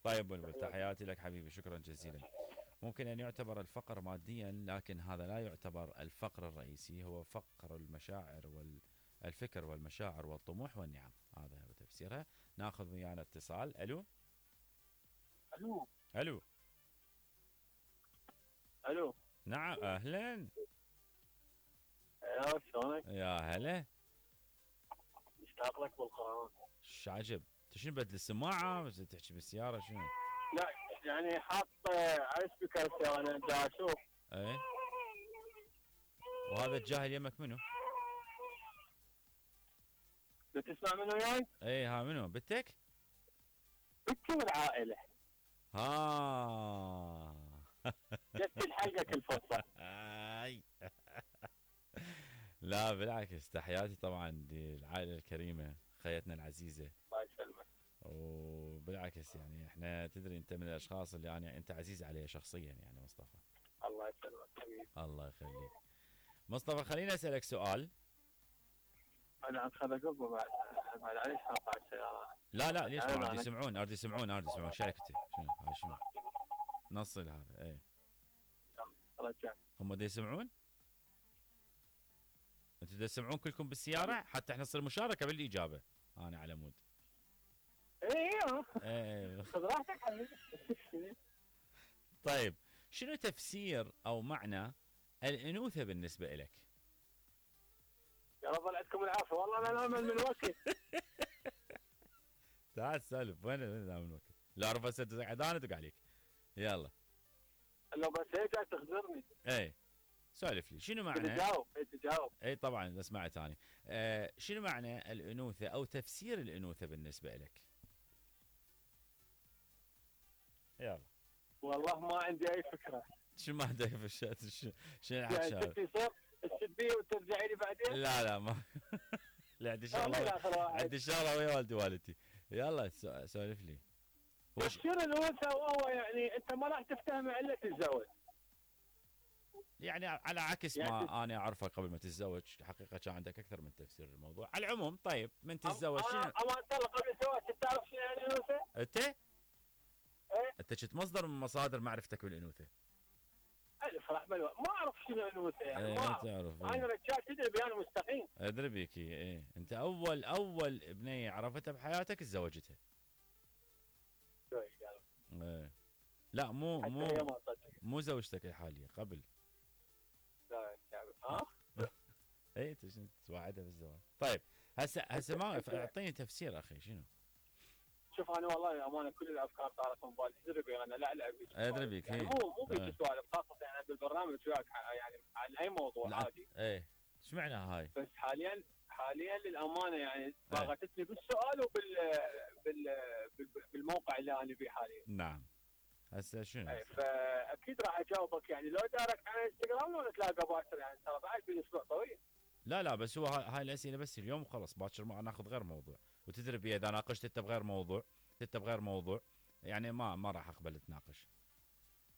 طيب بلبل، تحياتي لك حبيبي، شكرا جزيلا. ممكن أن يعتبر الفقر ماديا، لكن هذا لا يعتبر الفقر الرئيسي، هو فقر المشاعر والفكر والمشاعر والطموح والنعم. هذا هو تفسيرها. ناخذ ويانا اتصال. الو. الو. الو. الو. نعم، اهلا. يا شلونك؟ يا هلا. مشتاق لك بالقرآن. ش عجب، انت شنو بدل السماعه بس تحكي بالسياره شنو؟ لا يعني حاط على سبيكر انا دا اشوف. ايه. وهذا الجاهل يمك منو؟ بتسمع منو وياي؟ ايه، ها منو بنتك؟ بنتي والعائلة. ها. جت الحلقة كل فرصة. اي. لا بالعكس، تحياتي طبعا للعائله الكريمه، خيتنا العزيزه. الله يسلمك. وبالعكس يعني احنا تدري انت من الاشخاص اللي يعني انت عزيز علي شخصيا يعني مصطفى. الله يسلمك حبيبي. الله يخليك. مصطفى خليني اسالك سؤال. انا عم خذ بعد عليش حاط على السيارة. لا ليش ما اريد يسمعون، اريد يسمعون شركتي. شنو هاي شنو؟ نصل هذا ايه. رجع. هم دا يسمعون؟ انتوا دا تسمعون كلكم بالسيارة حتى احنا نصير مشاركة بالاجابة. انا على مود. ايه خذ راحتك حبيبي. طيب، شنو تفسير او معنى الانوثة بالنسبة لك؟ يا رب الله يعطيكم العافية، والله انا نامل من وقت. تعال سالف، وين نامل من وقت؟ لا اعرف هسه انا ادق عليك. يلا. لو بس هيك قاعد تخزرني. ايه. سولف لي شنو معنى؟ تجاوب. اي طبعا اذا سمعت ثاني. شنو معنى الانوثة او تفسير الانوثة بالنسبة لك؟ يلا. والله ما عندي اي فكرة. شو ما عندك في شنو الحكي؟ يعني تكتي تسبيه وترجعي لي بعدين؟ لا ما. لا عندي شغله، عندي شغله ويا والدي والدتي. يلا سولف لي. تفسير الانوثه وهو يعني انت ما راح تفتهم الا تتزوج. يعني على عكس يعني ما انا اعرفه قبل ما تتزوج، حقيقه كان عندك اكثر من تفسير للموضوع. على العموم طيب من تتزوج شنو؟ اما انت قبل الزواج تعرف شنو يعني الانوثه؟ انت؟ ايه؟ انت كنت مصدر من مصادر معرفتك بالانوثه. الف راح ما اعرف شنو الانوثه يعني. ايه ما تعرف. انا رجال تدري بيان مستقيم. ادري بيك. ايه انت اول بنيه عرفتها بحياتك تزوجتها. ايه. لا مو زوجتك الحاليه، قبل. لا ها؟ ايه انت شنو توعدها بالزواج؟ طيب هسه ما اعطيني تفسير اخي شنو؟ شوف انا والله امانه كل الافكار طارت من بالي. ادري بيك انا لا العب بيك. ادري بيك. يعني مو بيك سوالف خاصه يعني بالبرنامج وياك يعني عن اي موضوع عادي. ايه. ايش معنى هاي؟ بس حاليا للامانه يعني ضاغطتني بالسؤال بالموقع اللي انا فيه حاليا. نعم. هسه شنو؟ اي فاكيد راح اجاوبك يعني لو دارك على انستغرام لو نتلاقى باكر يعني ترى بعد بالاسبوع طويل. لا بس هو هاي الاسئله بس اليوم وخلص، باكر ما ناخذ غير موضوع. وتدري بي اذا ناقشت انت بغير موضوع يعني ما راح اقبل اتناقش.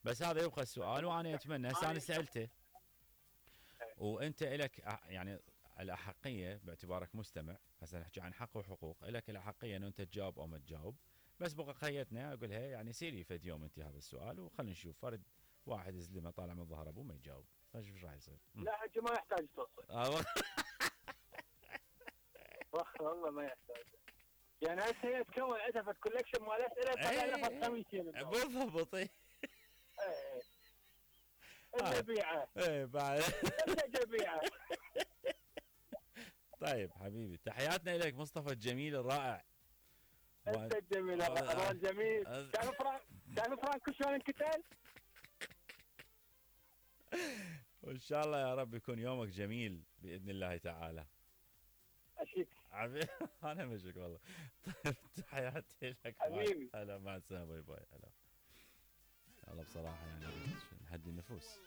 بس هذا يبقى السؤال وانا اتمنى هسه انا سالته. وانت الك يعني الاحقيه باعتبارك مستمع، هسه نحكي عن حق وحقوق، الك الاحقيه انه انت تجاوب او ما تجاوب. بس بقى خيتنا اقولها يعني سيري فد يوم انت هذا السؤال وخلينا نشوف فرد واحد يزلمه طالع من ظهر ابوه ما يجاوب، فشوف ايش راح يصير. لا حجي ما يحتاج توصل. والله ما يحتاج. يعني هسه هي تكون عندها كولكشن مال اسئله طلع لها 500 بالضبط. ايه الجبيعه. ايه بعد الجبيعه. طيب حبيبي، تحياتنا لك مصطفى الجميل الرائع. انت الجميل الجميل. تعرف فرانكو شلون انقتل؟ وان شاء الله يا رب يكون يومك جميل باذن الله تعالى. اشيك انا مشك والله. طيب تحياتي لك حبيبي. هلا مع السلامه. باي باي. هلا بصراحه يعني نهدي النفوس.